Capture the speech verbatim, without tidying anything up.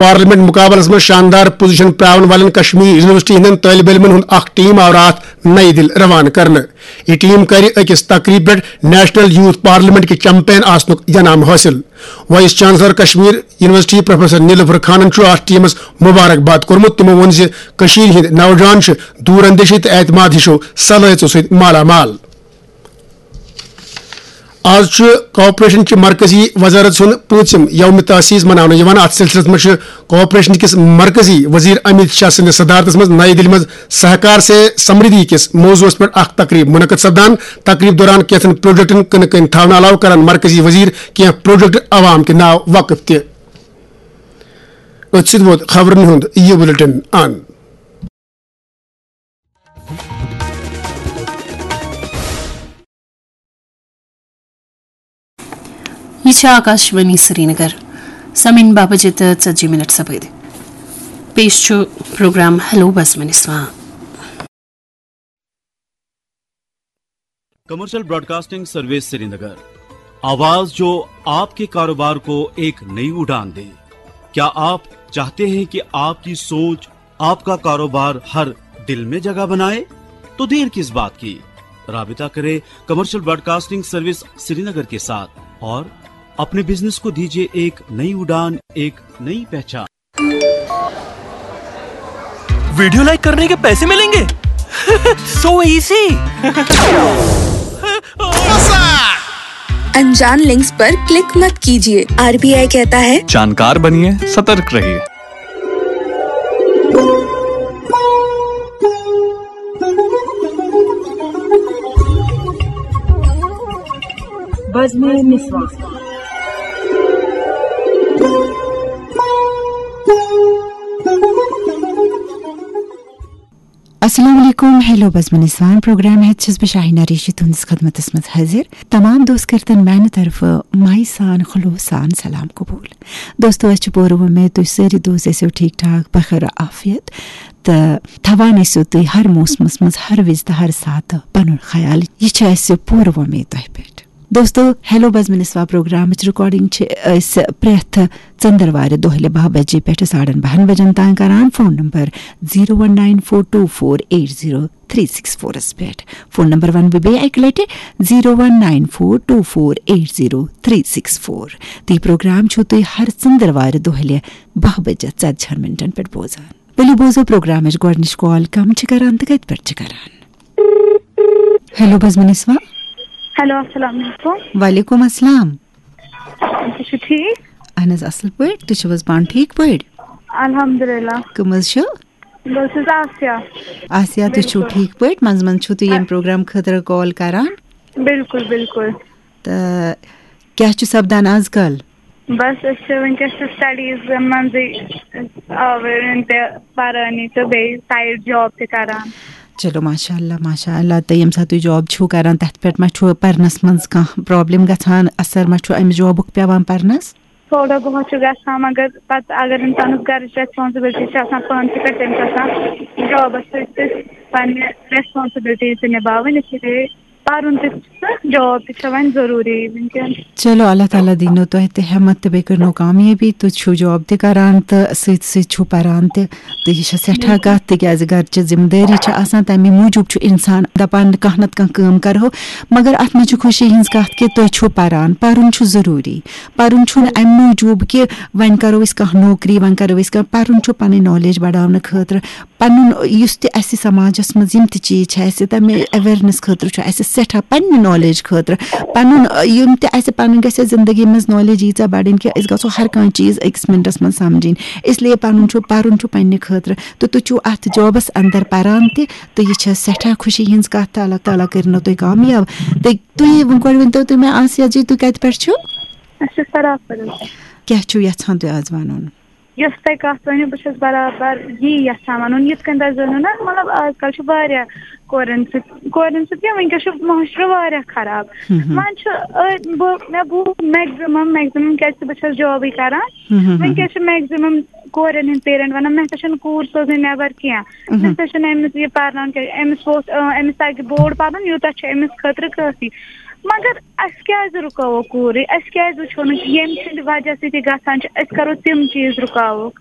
Parliament مقابلس منٛز شاندار پوزیشن پراون والٮ۪ن کشمیر یونیورسٹی ہٕنٛدٮ۪ن طٲلبہِ علمن ہُنٛد اکھ ٹیم آو راتھ نئی دِلہِ روانہٕ کرنہٕ۔ یہِ ٹیم کرِ أکِس تقریبہِ پٮ۪ٹھ نیشنل یوتھ پارلیمنٹ کہِ چیمپین آسنُک انعام حٲصِل۔ Vice chancellor Kashmir university professor Nilofer خانن چھُ اتھ ٹیمس مبارک باد کوٚرمُت۔ تِمو ووٚن زِ کٔشیٖرِ ہٕنٛدۍ نوجوان چھِ دور اندیشی تہٕ اعتماد ہِشو صلٲحیژو سۭتۍ مالا مال۔ آز چھُ کارپوریشن چہِ مرکزی وزارت سُنٛد پوٗنٛژِم یوم تاسیس مناونہٕ یِوان۔ اتھ سلسلس منٛز چھُ کارپوریشن کِس مرکزی وزیر امیت شاہ سٕنٛدِس صدارتس منٛز نئی دِلہِ منٛز سہکار سے سمردھی کِس موضوعس پٮ۪ٹھ اکھ تقریب منعقد سپدان۔ تقریب دوران کینٛژن پروجیکٹن کٕنہٕ کٔنۍ تھاونہٕ علاوٕ کرن مرکزی وزیر کینٛہہ پروجیکٹ عوام کہِ ناو وقف تہِ۔ أتھۍ سۭتۍ ووت خبرن ہُنٛد یہِ بُلٹن اند۔ یہِ چھِ آکاشوانی سرینگر۔ سمعن باہ بجے تہٕ ژتجی منٹ سپٕدۍ۔ پیش چھُ پروگرام ہیلو بزمِ نسواں۔ کمرشل براڈکاسٹنگ سروس سرینگر، آواز جو آپ کے کاروبار کو ایک نئی اڑان دے۔ کیا آپ چاہتے ہیں کہ آپ کی سوچ، آپ کا کاروبار ہر دل میں جگہ بنائے؟ تو دیر کس بات کی؟ رابطہ کریں کمرشل براڈکاسٹنگ سروس سرینگر کے ساتھ اور اپنے بزنس کو دیجیے ایک نئی اڑان، ایک نئی پہچان۔ ویڈیو لائک کرنے کے पैसे मिलेंगे। So easy। अनजान लिंक्स पर क्लिक मत कीजिए। आरबीआई कहता है, जानकार बनिए, सतर्क रहिए। بزمِ نسواں۔ السلام علیکم، ہیلو بزمِ نسواں پروگرام ہیتھ چھس بہٕ شاہینہ ریشی تُہنٛدِس خدمتس منٛز حٲضِر۔ تمام دوست کٔرتن میانہِ طرفہٕ مایہِ سان خلوص سان سلام قبول۔ دوستو، اسہِ چھِ پوٗرٕ وۄمید تُہۍ سٲری دوست ٲسِو ٹھیٖک ٹھاک بخیر عافیت تہٕ تھاوان ٲسِو تُہۍ ہر موسمس منٛز ہر وِزِ تہٕ ہر ساتہٕ پنُن خیال۔ یہِ چھِ اسہِ پوٗرٕ وۄمید تۄہہِ پٮ۪ٹھ۔ دوستو، ہیلو بزمِ نسواں پروگرامٕچ ریکارڈنگ چھِ أسۍ پرٛٮ۪تھ ژٔنٛدٕروارِ دۄہلہِ باہ بجے پٮ۪ٹھٕ ساڑن باہن بجن تام کران۔ Phone number zero one nine four two four eight zero three six فورس پٮ۪ٹھ۔ فون نمبر ونہٕ بہٕ بیٚیہِ اکہِ لٹہِ، zero one nine four two four eight zero three six four. تہٕ یہِ پروگرام چھِو تُہۍ ہر ژٔنٛدٕروارِ دۄہلہِ باہ بجے ژتجی ہن منٹن پٮ۪ٹھ بوزان۔ ؤلِو بوزو پروگرامٕچ گۄڈٕنِچ کال کم چھِ کران تہٕ کتہِ پٮ۪ٹھ چھِ کران۔ ہیلو بزمِ نسواں۔ ہیلو، السلام علیکم۔ وعلیکم السلام۔ تُہۍ چھِو ٹھیٖک؟ اہن حظ، اصل پٲٹھۍ۔ تُہۍ چھِو حظ پانہٕ ٹھیٖک پٲٹھۍ؟ الحمدللہ۔ کٕم حظ چھِو؟ بہٕ حظ چھَس آسیا۔ آسیا، تُہۍ چھِو بِلکُل۔ ٹھیٖک پٲٹھۍ؟ منٛزٕ منٛزٕ چھِو تُہۍ ییٚمہِ پروگرام خٲطرٕ کال کران؟ بِلکُل، بِلکُل۔ تہٕ کیٛاہ چھُ سپدان آز کل؟ بس، أسۍ چھِ وٕنکیٚس چھِ سٹڈیٖزن منٛزٕے آوٕرۍ تہِ پرٲنی تہٕ بیٚیہِ سایڈ جاب تہِ کران۔ چلو، ماشاء اللہ، ماشاء اللہ۔ تہٕ ییٚمہِ ساتہٕ تُہۍ جاب چھِو کران، تَتھ پٮ۪ٹھ ما چھُ پرنَس منٛز کانٛہہ پرابلم گژھان؟ اثر ما چھُ اَمہِ جابُک پٮ۪وان پرنَس؟ تھوڑا بہت چھُ گژھان، مگر پتہٕ اگر اِنسانَس گرٕچ ریسپانسبلٹی چھِ آسان پانسٕے پٮ۪ٹھ، تٔمِس چھِ آسان جابَس سۭتۍ سۭتۍ پننہِ ریسپانسبلٹی تہِ نِباوٕنۍ، اسی لیے پرُن تہِ چھُ، جاب تہِ چھِ وۄنۍ ضروٗری وٕنکیٚن۔ چلو، اللہ تعالیٰ دِنو تۄہہِ تہِ ہٮ۪مت تہٕ بیٚیہِ کٔرنو کامیٲبی۔ تُہۍ چھِو جاب تہِ کران تہٕ سۭتۍ سۭتۍ چھِو پران تہِ، تہٕ یہِ چھےٚ سٮ۪ٹھاہ کَتھ، تِکیٛازِ گرچہِ ذِمہٕ دٲری چھِ آسان، تَمہِ موٗجوٗب چھُ اِنسان دَپان، کانٛہہ نَتہٕ کانٛہہ کٲم کَرہو۔ مگر اَتھ منٛز چھِ خوشی ہٕنٛز کَتھ کہِ تُہۍ چھِو پران، پَرُن چھُ ضروٗری۔ پَرُن چھُنہٕ اَمہِ موٗجوٗب کہِ وۄنۍ کَرو أسۍ کانٛہہ نوکری، وۄنۍ کَرو أسۍ کانٛہہ، پَرُن چھُ پَنٕنۍ نالیج بَڑاونہٕ خٲطرٕ۔ پَنُن یُس تہِ اَسہِ سماجَس منٛز یِم تہِ چیٖز چھِ، اَسہِ تَمہِ awareness خٲطرٕ چھُ اَسہِ سٮ۪ٹھاہ، پنٛنہِ نالیج خٲطرٕ، پَنُن، یِم تہِ اَسہِ پَنٕنۍ گژھِ اَسہِ زندگی منٛز نالیج ییٖژاہ بَڑٕنۍ کہِ أسۍ گژھو ہر کانٛہہ چیٖز أکِس مِنٹَس منٛز سَمجھِنۍ۔ اس لیے پَنُن چھُ، پَرُن چھُ پنٛنہِ خٲطرٕ، تہٕ تُہۍ چھِو اَتھ جابَس اَندَر پَران تہِ، تہٕ یہِ چھےٚ سٮ۪ٹھاہ خوشی ہِنٛز کَتھ، تہٕ اللہ تعالیٰ کٔرِنو تُہۍ کامیاب۔ تہٕ تُہۍ وۄنۍ گۄڈٕ ؤنۍتو تُہۍ مےٚ، آسیا جی، تُہۍ کَتہِ پٮ۪ٹھ چھِو؟ أسۍ چھِ سرافَرٕ۔ کیٛاہ چھِو یَژھان تُہۍ آز وَنُن؟ یۄس تۄہہِ کَتھ ؤنِو، بہٕ چھَس برابر یی یَژھان وَنُن، یِتھ کٔنۍ تۄہہِ زٲنِو نا، مطلب، آز کَل چھُ واریاہ کورٮ۪ن سۭتۍ، کورٮ۪ن سۭتۍ کیٛاہ، وٕنکیٚس چھُ معاشرٕ واریاہ خراب۔ ہم، ہم۔ وۄنۍ چھُ، أ، بہٕ، مےٚ بوٗز maximum، maximum، کیٛازِکہِ بہٕ چھَس جابٕے کَران۔ ہم، ہم، ہم۔ وٕنکیٚس چھِ maximum کورٮ۪ن ہِنٛدۍ parent وَنان، "مےٚ ہسا چھَنہٕ کوٗر سوزٕنۍ نٮ۪بر کینٛہہ، ہم۔ مےٚ ہسا چھَنہٕ أمِس یہِ پَرناوُن کینٛہہ، أمِس ووت، أ، أمِس تَگہِ بوٚڑ پَرُن، یوٗتاہ چھُ أمِس خٲطرٕ کٲفی۔" مگر اَسہِ کیٛازِ رُکاوو کوٗرٕے؟ اَسہِ کیٛازِ وٕچھو نہٕ ییٚمہِ سٕنٛدِ وجہ سۭتۍ یہِ گژھان چھُ، أسۍ کَرو تِم چیٖز رُکاووکھ؟